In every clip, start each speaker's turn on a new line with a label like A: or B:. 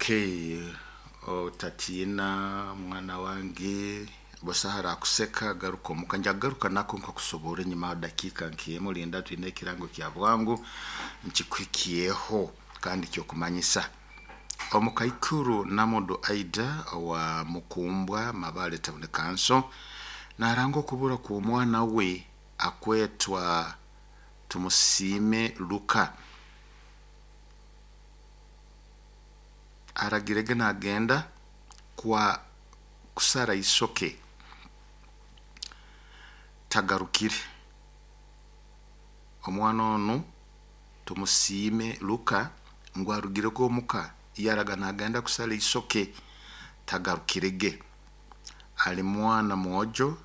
A: Okay, otatiina mwana wange, busaho arakuseka garuka omuka. Njagaruka nako nkakusobora enyuma dakiika nk'emu, linda twine ekirango kya bwangu nkikuhikyeho kandi kyokumanyisa. Omukaikuru Namudu Aida owa Mukumbwa Mabale Town Council naranga okubura kw'omwana we akwetwa Tumusiime Luka. Aragirege nagenda kwa kusara isoke tagarukire. Omwana onu Tumusiime Luka ngu arugirege omuka yaraga nagenda kusara isoke tagarukirege. Ali mwana mwojo,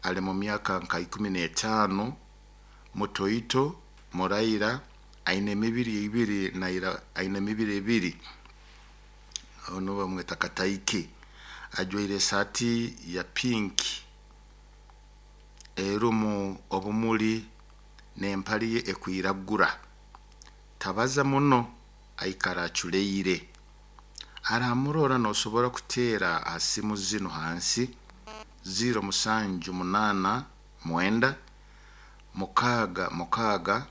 A: ali mu myaka nka 15, mutoito, muraira, aine emibiri ebiri naira aine emibiri ebiri. Ono bamweta Kataike. Ajwaire esaati ya pink erumu obumuli n'empali ye ekwiragura. Tabaza muno, aikara aculeire. Aramurora nosobora kuteera ha simu zinu hansi 0789 6 6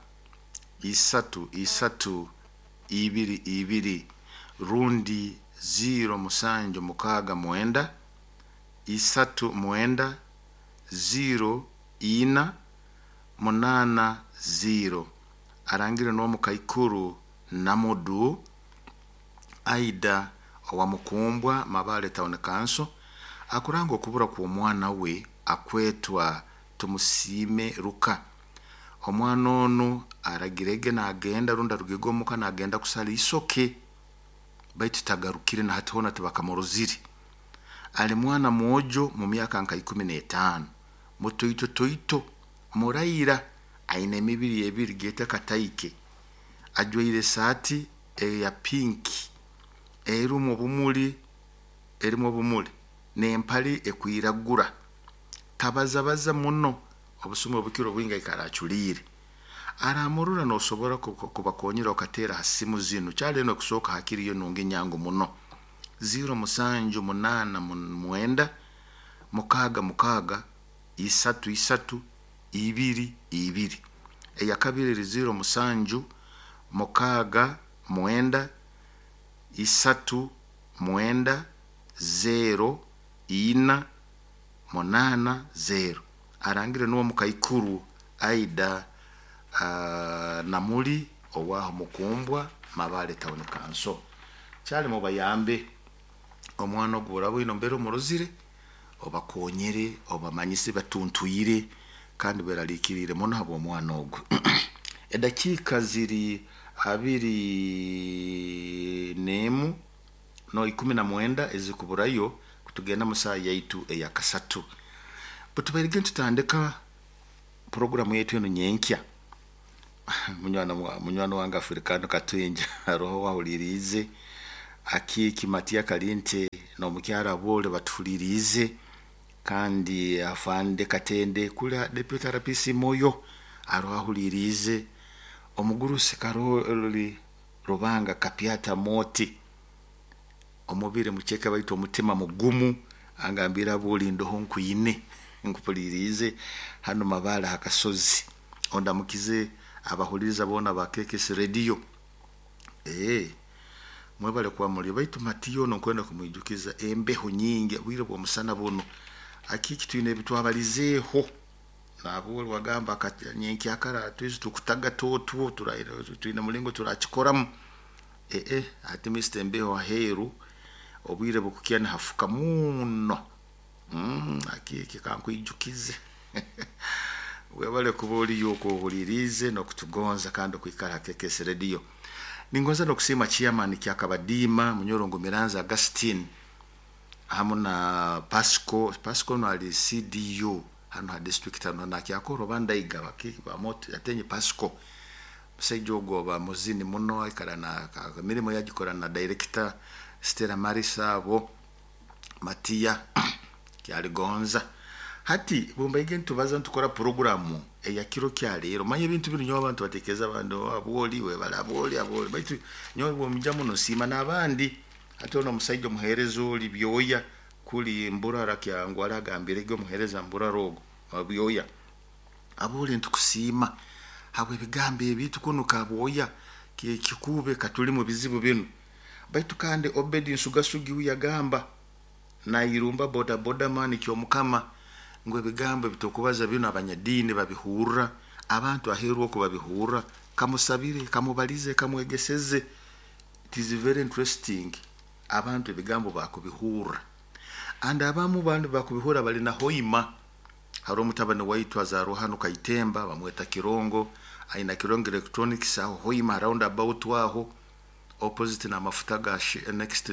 A: 3 3 2 2 rundi 0769 3 9 0 4 8 0. Arangire n'omukaikuru Namudu Aida owa Mukumbwa Mabale Town Council akuranga okubura kw'omwana we akwetwa Tumusiime Luka. Omwana onu aragirege nagenda rundi arugege omuka nagenda kusara isoke baitu tagarukire na hati hoona tibakamurozire. Ali mwana mwojo mu myaka nka 15, mutoito toito, muraira, aine emibiri ebiri geete Kataike. Ajwaire esaati eya pink erumu obumuli n'empali ekwiragura. Tabazabaza muno, obusumi obukiro bwingi aikara aculiire. Aramurora nosobora kubakonyera okateera ha simu zinu. Kyali enu ekusooka hakiri yo nungi nyangu muno. 0789 6 6 3 3 2 2. Eyakabiri eri 07 6 9 3 9 0 4 8 0. Arangire nuwe mukaikuru Aida Namuli owaho Mukumbwa Mabale Town Council. Kyali mubayambe omwana ogu oraba oine mbere omurozire obakonyere obamanyise batuntwire kandi beraliikiriire muno habw'omwana ogu. Edakiika ziri 21 no 19 ezikuburayo kutugenda mu saaha yaitu eya kasatu. Butubairege nitutandika puroguramu yaitu enu nyenkya. Munywani wange Afrikano Katwinja haroho wahuliriize Akiiki Matiya Kalinte n'omukyara Abole batuhuliriize kandi afande Katende kuli Deputy RPC Moyo aroho ahuliriize omugurusi Karoli Rubanga Kapyata Moti omubiri muceke baitu omutima mugumu angambire Aboli ndoho nkwine nkupuliriize hanu Mabale ha kasozi ondamukize abahuliriza boona ba KKS Radio. Mwebale kuba muli baitu Matiya ono nkwenda kumwijukiza embeho nyingi obwire bw'omusana buno akiki twine ebitwabalizeeho nabwo wagamba nyenkyakara twize tukutaga otwo twine mulingo turakikoramu ati Mr. Embeho aheeru obwire bukukya nihafuka muno. Akiki kankwijukize webale kuba oliyo okuhuliriize n'okutugonza kandi okwikara ha KKS Radio. Ningonza n'okusiima chairman Kyakabadiima Munyorongo Miranzi Augustine hamu na Pasco. Pasco ono ali CDU hanu ha district hanu nakyakora oba ndaiga atenye Pasco. Musaija ogu oba muzini muno aikara na mirimo yagikora na director Stella Marisa abo Matiya kyaligonza. Hati bumbaige nitubaza nitukora puroguramu eya kiro kya leero. Manya ebintu binu nyowe abantu batekereza abandi abwoli webale abwoli abwoli baitu nyowe bwomija muno nsiima n'abandi. Hati ono omusaija omuheereza oli byoya kuli mburara kyangu aragambirege omuheereza mburara ogu byoya abole ntukusiima habw'ebigambo ebitu kunu kabwoya kikube katuli mu bizibu binu. Baitu kandi Obedi Nsugasugi huyo yagamba nairumba boda boda mani kyomukama ngu ebigambo ebitukubaza binu abanyadiini babihurra, abantu aheeru oku babihurra, kamusabire, kamubalize, kamwegeseze. It is very interesting, abantu ebigambo bakubihurra, and abamu bandi bakubihurra bali na hoima. Hari omutabani waitu azarwa hanu Kaitemba, bamweta Kirongo, aina Kirongo Electronics aho Hoima round about aho opposite na mafuta ga next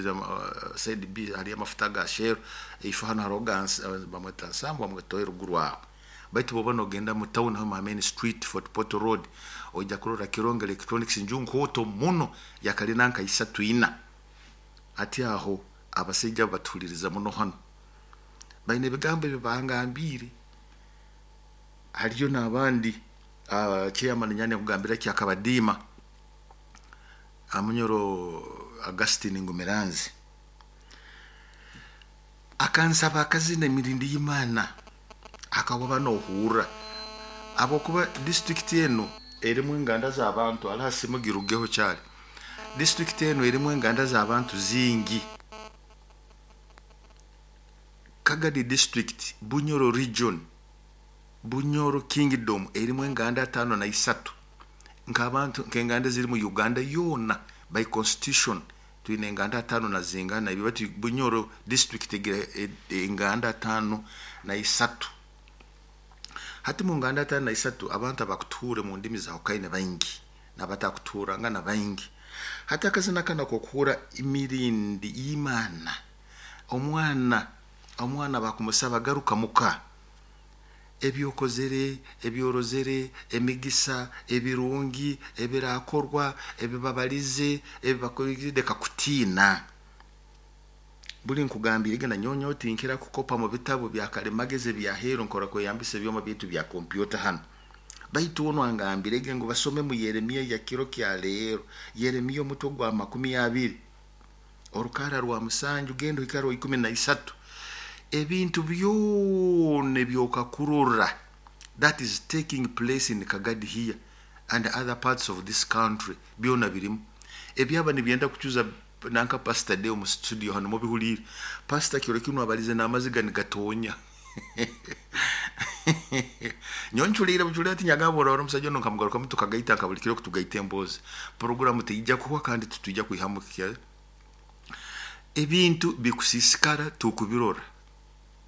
A: side B hari amafuta ga Shell, ifo hano hariho bamweta Nsambu, bamweta eruguru aho. Baitu boba nogenda mu town aho main street Fort Portal Road, ojja kurora Kirongo Electronics nju nkooto muno yakalina nka 3 4. Ati aho abasajja batuhuliriza muno hano, baine ebigambo ebi bangambire. Hariyo n'abandi chairman nyane kugambira ki akabadiima Amunyoro Augustine Ngumiranzi akansaba akazina emirindi y'Imana akaba nohurra abokuba district eno erimu enganda z'abantu ala simugirugeho kyali. District eno erimu enganda z'abantu zingi. Kagadi district, Bunyoro region, Bunyoro kingdom erimu enganda 53 nk'abantu nk'enganda ziri mu Uganda yona by constitution twine enganda 5 na zingana ibi, bati Bunyoro district egira enganda 53. Hati mu nganda 53 abantu abakutuhure mu ndimi za Hokaine baingi n'abatakutuhuranga na baingi. Hati akazina kana kokuhura imirindi y'Imana, omwana bakumusaba garuka muka, ebyokozere, ebyorozere, emigisa, ebirungi, ebirakorwa, ebibabalize, ebibakorire, leka kutiina. Buli nkugambire gena nyonyo tinkira kukopa mu bitabo bya kalimagezi bya hero nkora kweyambisa ebyoma bitu bya kompyuta hano. Baitu ono angambire ngu basome mu Yeremiya ya kiro kya leero, Yeremiya omutwe gwa 20 orukara rwa 7 gendo ikaro 13. Ebintu byona ebyokakurora that is taking place in Kagadi here and other parts of this country byona birimu. Ebyaba nibyenda kuchuza nanka Pastor Deo mu studio hano mubihulire. Pastor kiro kino abalize n'amaziga nigatonya. Nyonchulire buchulire ati nyagabora ora omusajja ono nkamugaruka tukagaita nka buli kiro kutugaita emboozi. Programu teijja kuhwa kandi tutujja kuihamu kya. Ebintu bikusisikara tukubirora.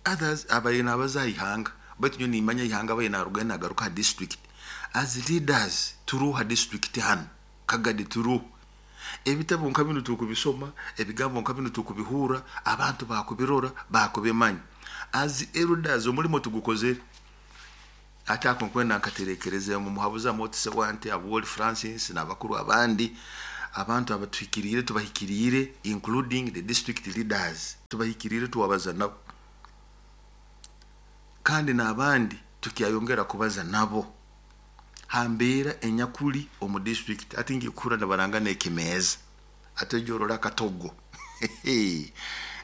A: Others abayina abaza ihanga, baitu nyo nimanya ihanga abayina arugenda agaruka district. As leaders turuha district hano Kagadi turuha. Ebitabo nka bino tukubisoma, ebigambo nka bino tukubihura, abantu bakubirora, bakubimanya. As elders omulimo tugukozere. Ate ako nkwenda nkaterekereze mu muhabuza Motse Wante, Abwoli Francis n'abakuru abandi, abantu abatuhikirire tubahikirire including the district leaders, tubahikirire tuwabaza nabo. Kandi n'abandi tukyayongera kubaza nabo. Hambera enyakuli omu district ati ngikura nabaranga nekimeza ate jorora katogo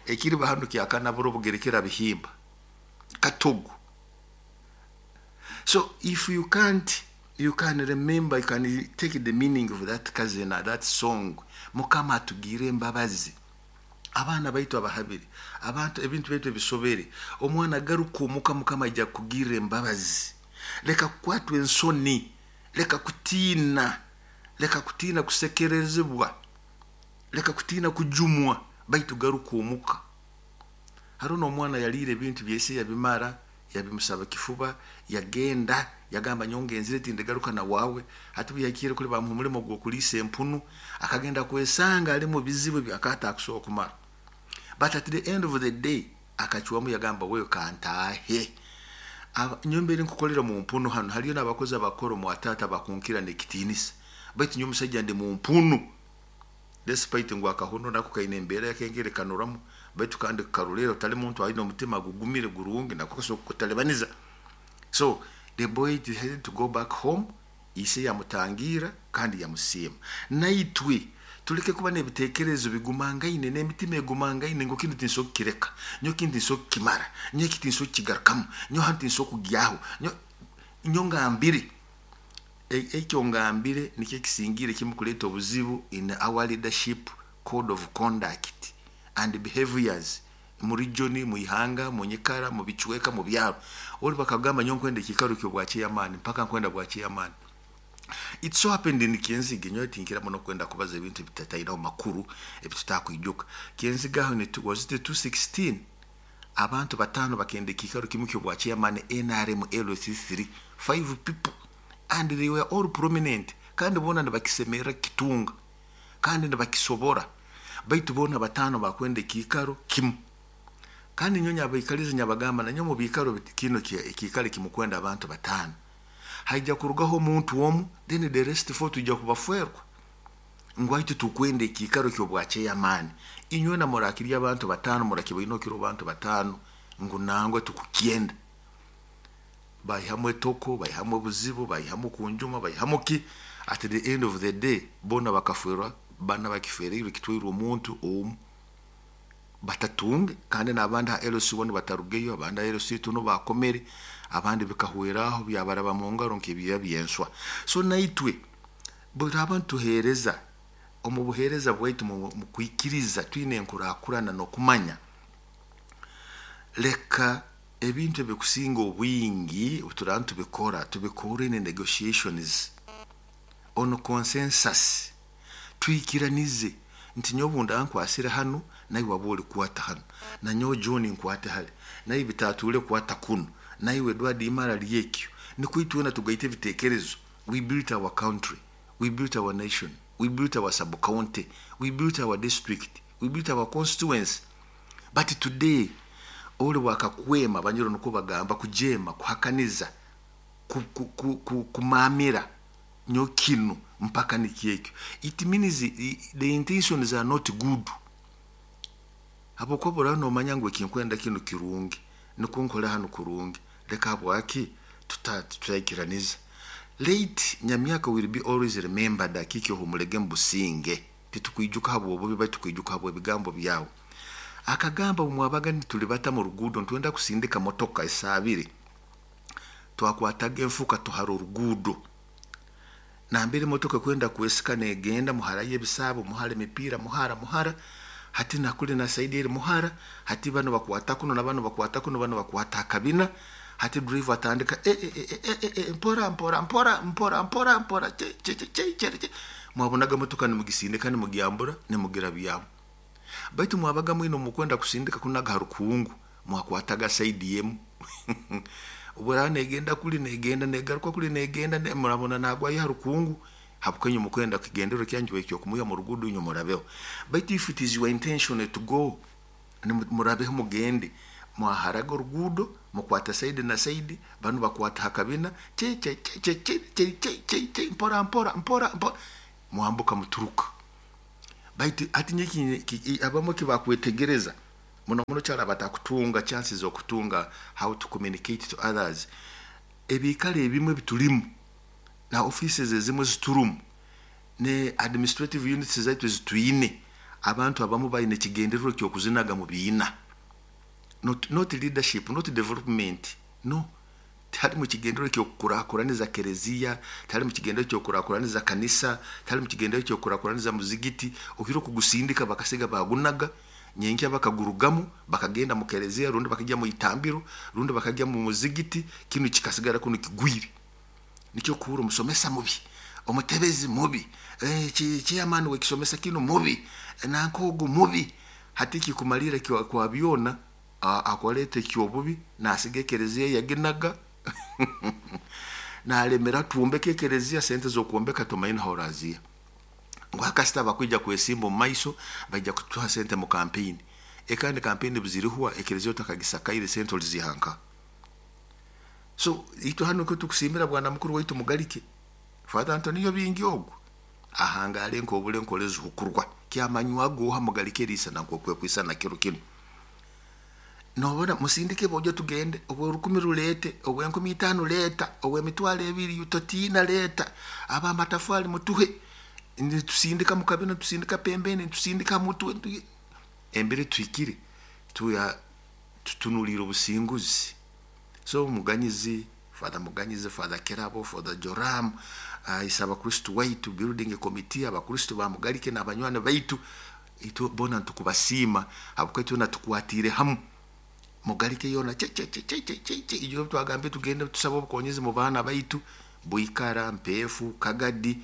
A: ekiri bahano kyakana buro bugerekera bihimba katogo. So if you can't, you can remember, you can take the meaning of that kazina, that song. Mukama atugire embabazi abaana baitu abahabire, abantu ebintu baitu ebisobere, omwana garuka omuka Mukama ajja kugira embabazi. Leka kukwatwa ensoni, leka kutiina, leka kutiina kusekerezebwa, leka kutiina kujumwa, baitu garuka omuka. Hariho n'omwana yaliire ebintu byese yabimara, yabimusaba kifuba, yagenda, yagamba nyongenzire tindigaruka na wawe. Hati buyakire kuli bamuha omulimo gw'okuliisa empunu, akagenda kwesanga ali mu bizibu byakata akusobola okumara. But at the end of the day akacwamu yagamba wewe kantaahe. Nyombere nkukolera mu mpunu hano, hariyo n'abakozi abakora mu atata bakunkira n'ekitiinisa, baitu nyo omusajja ndi mu mpunu despite ngu akahuno nako kaine embeera yakengere kanuramu, baitu kandi karulero tali muntu alina omutima gugumire gurungi nako kasobola kukutalibaniza. So the boy decided to go back home, ise yamutangira kandi yamusiima. Naitwe Tuleke kuba n'ebitekerezo bigumangaine n'emitima egumangaine ngu kinu tinso kukireka, nyo kinu tinso kukimara, nyo eki tinso kukigarukamu, nyo hanu tinso kugyaho, nyo ngambire. Ekyo ngambire nikyo ekisingire kimu kuleeta obuzibu in our leadership code of conduct and behaviors mu region, mu ihanga, mu nyikara, mu bicweka, mu byaro. Oli bakagamba nyo nkwenda ekikaro ky'obwa chairman, mpaka nkwenda bwa chairman. It so happened in Kyenzige, nyowe tinkira muno kwenda kubaza ebintu ebitatainaho makuru ebitutakwijuka. Kyenzige aho was it 216? Abantu 5 bakenda ekikaro kimu ky'obwa chairman NRM LC3, 5 people, and they were all prominent, kandi bona nibakisemerera kitunga, kandi nibakisobora, baitu bona 5 bakwenda ekikaro kimu. Kandi nyowe nyabaikaliza nyabagamba, nanyowe mu biikaro kino ekikaro kimukwenda abantu 5, haija kurugaho omuntu omu, then the rest 4 tujja kubaferwa ngu aitu tukwenda ekikaro ky'obwa chairman. Inywe na murakiri abantu 5, murakibaine okiro abantu 5 ngu nangwe tukukyenda. Baihamu etoko, baihamu obuzibu, baihamu kunjuma, baihamu ki. At the end of the day bona bakaferwa, bana bakifereirwe kitwairwe omuntu omu batatunge, kandi n'abandi ha LC1 batarugeyo, abandi ha LC2 no bakomere, abandi bikahweraho byabaraba mu ngaro nk'ebiya by'enswa. So naitwe buri abantu tuheereza omu buheereza bwaitu mu kwikiriza twine enkurakurana n'okumanya. Leka ebintu ebikusinga obwingi turaba tubikora, tubikore in negotiations on consensus, twikiranize nti nyowe bunda nkwasire hanu, naiwe waba ori kwata hanu, na nyowe John nkwate hali, naiwe bitatule kwata kuno, naiwe Edward Imara lyekyo, nikwo itwena tugaite ebitekerezo. We built our country, we built our nation, we built our sub-county, we built our district, we built our constituency. But today oli wakakwema banyoro niko bagamba kujema, kuhakaniza, kumamira nyo kinu mpaka nikyekyo. It means the intentions are not good. Habwokuba oraba nomanya ngu ekinkwenda kinu kirungi, nikwo nkore hanu kurungi, leka habwaki tutaikiraniza. Late Nyamyaka will be always remembered akiki ohumulege mbusinge. Titukwijuka habwobubi, baitu tukwijuka habw'ebigambo byawe. Akagamba mwabaga nitulibata mu ruguudo ntwenda kusindika motoka esaabiri, twakwataga enfuka tuhara oruguudo nambere motoka kwenda kwesika negenda, muharayo ebisaabo, muhara emipiira, muhara muhara, hati nakuli na saidi eri muhara, hati bano bakwata kuno na bano bakwata kuno, bano bakwata akabina, hati driver atandika mpora mpora mpora mpora mpora mpora che che che che che che. Mwabonaga motoka nimugisindika nimugyambura nimugira byamu. Baitu mwabaga mwino mukwenda kusindika kunaga harukungu, mwakwataga saidi yemu. Ubura negenda kuli negenda negaruka kuli negenda ne, murabona nagwa harukungu, habukenyu mukwenda kigendero kyanju ekyo kumuya mu rugudo nyo murabeho. Baitu if it is your intention to go, ni murabeho mugende, mwaharaga orugudo mukwata saidi na saidi, banu bakwata hakabina che che che che che che che che che mpora mpora mpora mpora, mwambuka muturuka. Baitu ati nyeki abamwe kibakwetegereza muno muno cyara batakutunga chances zo kutunga how to communicate to others. Ebikale ebimwe bitulimu na offices ezimwe ziturumu ne administrative units zaitu zituine, abantu abamu baine kigendererwa kyo kuzinaga mu biina. Not leadership, not development. No. Tari mu kigendererwa kyo kukurakuraniza kereziya, tari mu kigendererwa kyo kukurakuraniza kanisa, tari mu kigendererwa kyo kukurakuraniza muzigiti, okiro kugusindika bakasiga bagunaga, nyenkya bakagurugamu, bakagenda mu kereziya, rundi bakajya mu itambiro, rundi bakajya mu muzigiti, kinu kikasigara kuno kigwire. Nikyo kuhura omusomesa mubi, omutebezi mubi, chairman we kisomesa kino mubi, nankogo mubi, hati kikumalira kwa byona, akolete kyobubi, nasiga kereziya yaginaga. Nalemera tuombeke kereziya, sente zokuombeka tumaina horazia. Ngwakasita bakwija kwesimba mu maiso, baija kutuha sente mu campaign. Ekandi campaign buzirihuwa ekereziya otakagisakaire sente olizihanka. So itu hano ko tukusimira bwana mukuru waitu Mugalike Father Antonio Bingi ogwo ahangale nkobule nkolezi hukurwa kyamanywa goha Mugalike risa na nkokwe kwisana kiro kino. Nobona musindike bojo tugende obwe 10 rulete obwe 50 leta obwe 20,000 utotina leta aba matafali mutuhe. Nitusindika mu kabina, tusindika pembeni, tusindika mutwe. Embere tuhikire tuya tutunulire obusinguzi. So Muganyizi, Father Muganyizi, Father Kirabo, Father Joram, isa abakristu waitu building committee, abakristu bamugalike n'abanywani baitu, itwe bona ntukubasiima habwokuba itwena tukwatiire hamu. Mugalike yona che che che che che che che, ijo twagambye tugende tusaba obukonyezi mu baana baitu, Buikara, Mpeefu, Kagadi,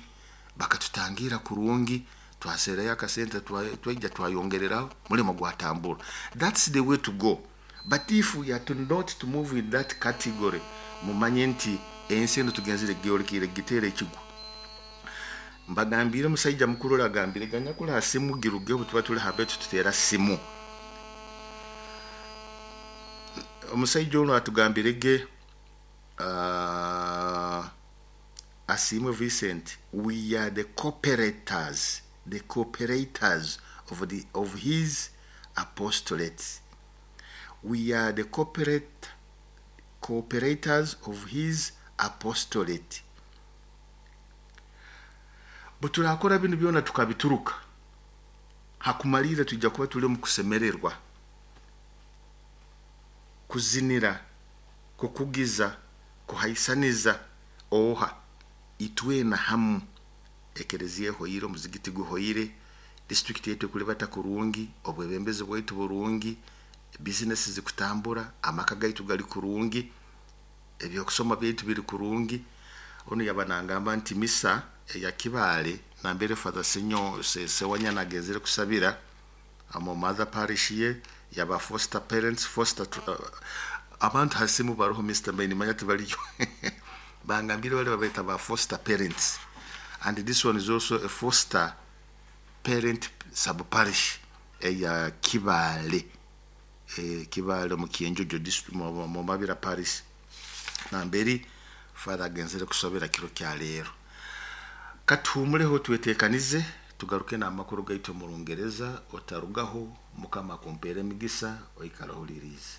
A: bakatutangira kurungi, twaserayo akasente, twaija twayongereraho, mulimo gwatambura. That's the way to go. But if we are to not to move in that category, mumanye nti ensi eno tugenzere gyolekere giteera ekigwa. Mbagambire omusaija mukuru ori agambire ganyakula simu giruge obu tuba tuli hambetu tuteera simu. Omusaija ono atugambire ge Asiimwe Vincent, we are the cooperators, the cooperators of his apostolate. We are the cooperators of his apostolate. Bwe turakora binu byona tukabituruka, hakumalira tujja kuba tuli omu kusemererwa, kuzinira, kukugiza, kuhaisaniza oha itwena hamu. Ekereziya ehoire, omuzigiti guhoire, district yetu ekulibata kurungi, obwebembezi bwaitu burungi, bizinesi zikutambura, amaka gaitu gali kurungi, ebyokusoma byaitu biri kurungi. Onu yaba nangamba nti misa eya Kibaale nambere Father Senyo Sewanyana agenzere kusabira mu mother parish ye yaba foster parents, foster abantu hasimu baroho Mr. Maini manya tibaliyo bangambire bali babaita ba foster parents, and this one is also a foster parent sub parish eya Kibaale, Kibaale mu Kienjojo district, mu Mabira parish, namberi Father agenzere kusabira kiro kya leero. Katuhumuleho, twetekanize, tugaruke n'amakuru gaitu mu Rungereza. Otarugaho, Mukama akumpeera emigisa, oikara ohuliriize.